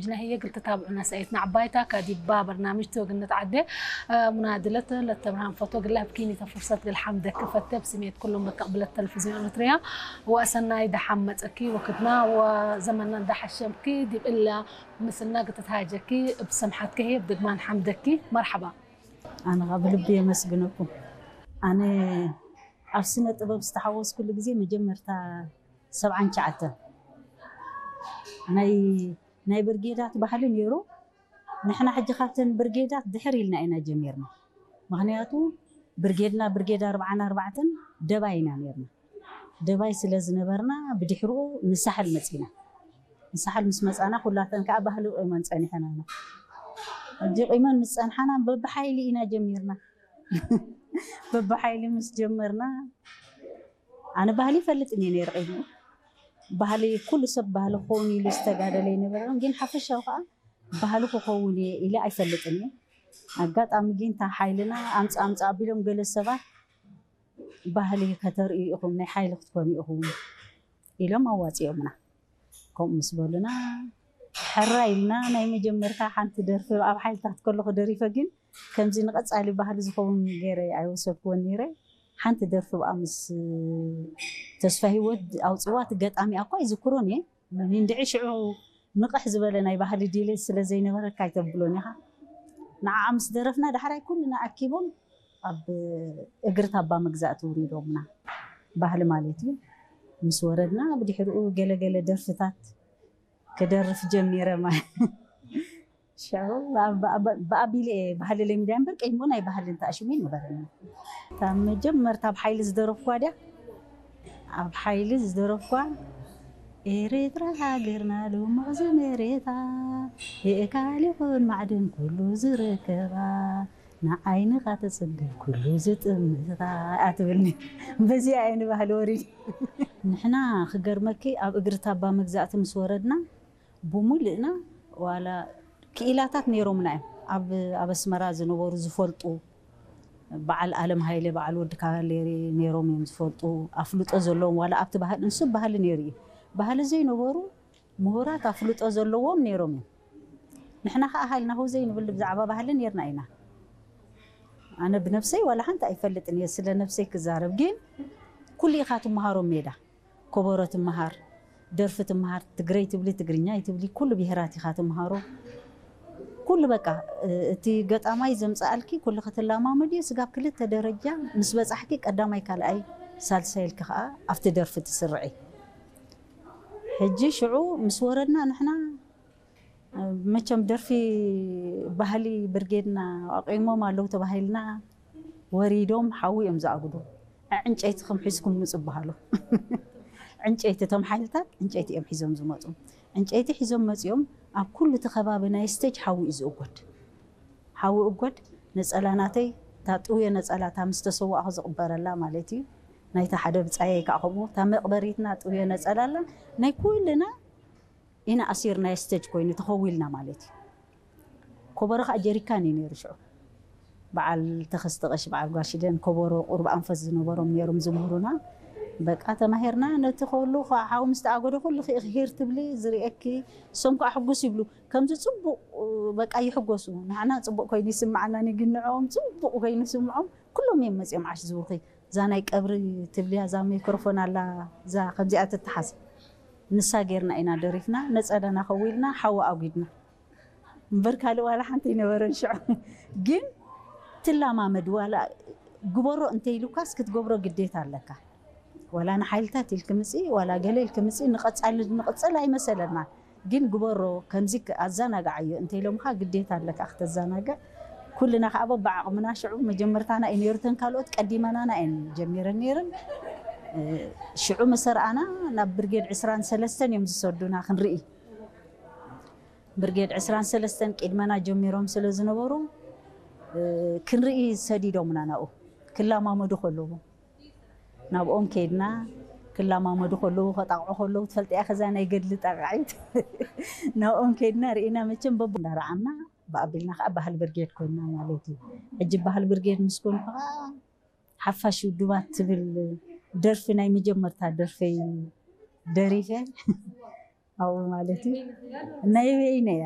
ጅና ህየ ግልቲ ታብዑና ሰኤት ናዕባይታ ካዲባ በርናምጅ ተወግነት ዓደ ሙናድለት ለተብርሃን ፈቶ ግላ ብኪኒ ተፍርሰት ግል ሓምደክ ፈተ ብስሜት ኩሎም በቃ ብለት ተለፍዝዮን ኤርትርያ ወሰናይ ደሓም መጸኪ ወክድና ወዘመና ደሓሸምኪ ዲብ እላ ምስልና ግትትሃጀኪ ብሰምሓትኪ ህየ ብድግማን ሓምደኪ መርሓባ። ኣነ ኸዓ ብልቢ የመስግነኩም። ኣነ ኣብ ስነ ጥበብ ዝተሓወስኩሉ ግዜ መጀመርታ ሰብዓን ትሽዓተን ናይ ናይ ብርጌዳት ባህሊ ነይሩ። ንሕና ሕጂ ካብተን ብርጌዳት ድሕር ኢልና ኢና ጀሚርና። ምኽንያቱ ብርጌድና ብርጌድ ኣርባዓን ኣርባዕተን ደባይ ኢና ነይርና። ደባይ ስለ ዝነበርና ብድሕርኡ ንሳሕል መጺና። ንሳሕል ምስ መጻና ኩላተን ከዓ ባህሊ ቂመን ጸኒሐናና። ሕጂ ቂመን ምስ ጸንሓና በብሓይሊ ኢና ጀሚርና። በብሓይሊ ምስ ጀመርና ኣነ ባህሊ ይፈልጥን እየ ነይረ ቂድሚ። ባህሊ ኩሉ ሰብ ባህሊ ክኸውን ኢሉ ዝተጋደለ ይነበረ ግን ሓፈሻዊ ከዓ ባህሊ ክኸውን እየ ኢለ ኣይፈልጥን እየ። ኣጋጣሚ ግን እታ ሓይልና ኣምፃ ኣምፃ ኣቢሎም ገለ ሰባት ባህሊ ከተርእዩ ኢኹም ናይ ሓይሊ ክትኮኑ ኢኹም ኢሎም ኣዋፂኦምና። ከምኡ ምስ በሉና ሕራ ኢልና ናይ መጀመርታ ሓንቲ ደርፊ ኣብ ሓይልታት ከለኹ ደሪፈ ግን ከምዚ ንቐፃሊ ባህሊ ዝኸውን ገይረ ኣይወሰድክዎን ነይረ። ሓንቲ ደርፊ ብኣ ምስ ተስፋ ህይወት ኣውፅዋ እቲ ገጣሚ ኣኳ ይዝክሮን እየ። እንድዒ ሽዑ ንቕሕ ዝበለ ናይ ባህሊ ድሌት ስለ ዘይነበረካ ኣይተብሎን ኢኻ። ንዓ ምስ ደረፍና ዳሕራይ ኩልና ኣኪቦም ኣብ እግሪ ታባ መግዛእቲ ውሪዶምና ባህሊ ማለት እዩ። ምስ ወረድና ብድሕሪኡ ገለገለ ደርፍታት ክደርፍ ጀሚረ ማለት ሽዑ ብኣቢለ እየ ባህሊ ለሚዳ እምበር ቀይሞ ናይ ባህሊ እንተኣሽሙ ይነበረኒ። ካብ መጀመርታ ኣብ ሓይሊ ዝደረፍኳ ድያ ኣብ ሓይሊ ዝደረፍኳ ኤርትራ ሃገርና ልሙቕ ዝመሬታ የእካል ይኹን ማዕድን ኩሉ ዝርከባ ንዓይንኻ ተጽግብ ኩሉ ዝጥምታ ኣትብልኒ በዚኣ እየ ንባህሊ ወሪድ ንሕና ክገርመኪ ኣብ እግሪ ታባ መግዛእቲ ምስ ወረድና ብሙሉእና ዋላ ክኢላታት ነይሮምና እዮም ኣብ ኣብ ኣስመራ ዝነበሩ ዝፈልጡ በዓል ኣለም ሃይለ በዓል ወዲ ካቫሌሪ ነይሮም እዮም ዝፈልጡ ኣፍልጦ ዘለዎም ዋላ ኣብቲ ባህል እንሱ ባህሊ ነይሩ እዩ ባህሊ ዘይነበሩ ምሁራት ኣፍልጦ ዘለዎም ነይሮም እዮም ንሕና ከዓ ሃልና ህው ዘይንብል ብዛዕባ ባህሊ ነይርና ኢና ኣነ ብነብሰይ ዋላ ሓንቲ ኣይፈልጥን እየ ስለ ነብሰይ ክዛረብ ግን ኩሉ ኢኻ ትመሃሮ ሜዳ ኮቦሮ ትመሃር፣ ደርፊ ትመሃር፣ ትግረይ ትብሊ፣ ትግርኛ ይትብሊ፣ ኩሉ ብሄራት ኢኻ ትመሃሮ። ኩሉ በቃ እቲ ገጣማይ ዘምፀኣልኪ ኩሉ ክትላማመድዮ ስጋብ ክልተ ደረጃ ምስ በፃሕኪ ቀዳማይ ካልኣይ ሳልሳይ ኢልኪ ከዓ ኣብቲ ደርፊ ትስርዒ። ሕጂ ሽዑ ምስ ወረድና ንሕና መቸም ደርፊ ባህሊ ብርጌድና ኣቂሞም ኣለዉ ተባሂልና ወሪዶም ሓዊ እዮም ዝኣጉዱ። ዕንጨይቲ ከም ሒዝኩም ምፁ ይበሃሉ። ዕንጨይቲ እቶም ሓይልታት ዕንጨይቲ እዮም ሒዞም ዝመፁ። ዕንጨይቲ ሒዞም መፂኦም ኣብ ኩሉ እቲ ከባቢ ናይ ስቴጅ ሓዊ እዩ ዝእጎድ። ሓዊ እጎድ ነፀላ ናተይ እታ ጥውዮ ነፀላ እታ ምስ ተሰዋእኹ ዝቕበረላ ማለት እዩ። ናይታ ሓደ ብፃየይ ከዓ ከምኡ እታ መቕበሪትና ጥውዮ ነፀላ ኣላ ናይ ኩልና ኢና ኣሲርናዮ ስቴጅ ኮይኑ ተኸዊልና ማለት እዩ። ኮቦሮ ከዓ ጀሪካን እዩ ነይሩ ሽዑ በዓል ተኸስተ ቀሺ በዓል ጓሽደን ኮቦሮ ቁሩብ ኣንፈት ዝነበሮም ነይሮም ዝምህሩና በቃ ተማሂርና ነቲ ከሉ ከዓ ሓዊ ምስ ተኣጎደ ኩሉ ክኢኺ ሂር ትብሊ ዝርእየኪ እሶም ከዓ ሕጉስ ይብሉ ከምዚ ፅቡቅ በቃ ይሕጎሱ ንዓና ፅቡቅ ኮይኑ ይስምዓና ግን ንዕኦም ፅቡቅ ኮይኑ ይስምዖም ኩሎም እዮም መፅኦም ዓሽ ዝብሉኺ እዛ ናይ ቀብሪ ትብልያ እዛ ሜክሮፎን ኣላ እዛ ከምዚኣ ትተሓዝ ንሳ ጌርና ኢና ደሪፍና ነፀለና ከዊልና ሓዊ ኣጒድና እምበር ካልእ ዋላ ሓንቲ ኣይነበረን ሽዑ ግን ትላማመድ ዋላ ግበሮ እንተይሉካስ ክትገብሮ ግዴታ ኣለካ ዋላ ንሓይልታት ኢልክ ምፂ ዋላ ገለ ኢልክ ምፂ ንቐፃሊ ንቕፅል ኣይመሰለና ግን ግበሮ ከምዚ ኣዘናግዓዮ እንተኢሎምኻ ግዴታ ኣለካ ክተዘናግዕ ኩልና ከዓ በብዓቕምና ሽዑ መጀመርታና እዩ ነይሩ ተን ካልኦት ቀዲመናና እየን ጀሚረን ነይረን ሽዑ መሰርኣና ናብ ብርጌድ ዕስራን ሰለስተን እዮም ዝሰዱና ክንርኢ ብርጌድ ዕስራን ሰለስተን ቅድመና ጀሚሮም ስለ ዝነበሩ ክንርኢ ሰዲዶምና ናብኡ ክላማመዱ ከለዉ ናብኦም ከይድና ክላማመዱ ከለዉ ከጣቕዑ ከለዉ ትፈልጢያ ከዛ ናይ ገድሊ ጣቃዒት ናብኦም ከይድና ርኢና መቸም በቡ እንዳረዓምና ብኣቢልና ከዓ ባህል ብርጌድ ኮይና ማለት እዩ ሕጂ ባህል ብርጌድ ምስ ኮንኩ ከዓ ሓፋሽ ውድባት ትብል ደርፊ ናይ መጀመርታ ደርፈይ ደሪፈ ኣብኡ ማለት እዩ ናይ በይነ እያ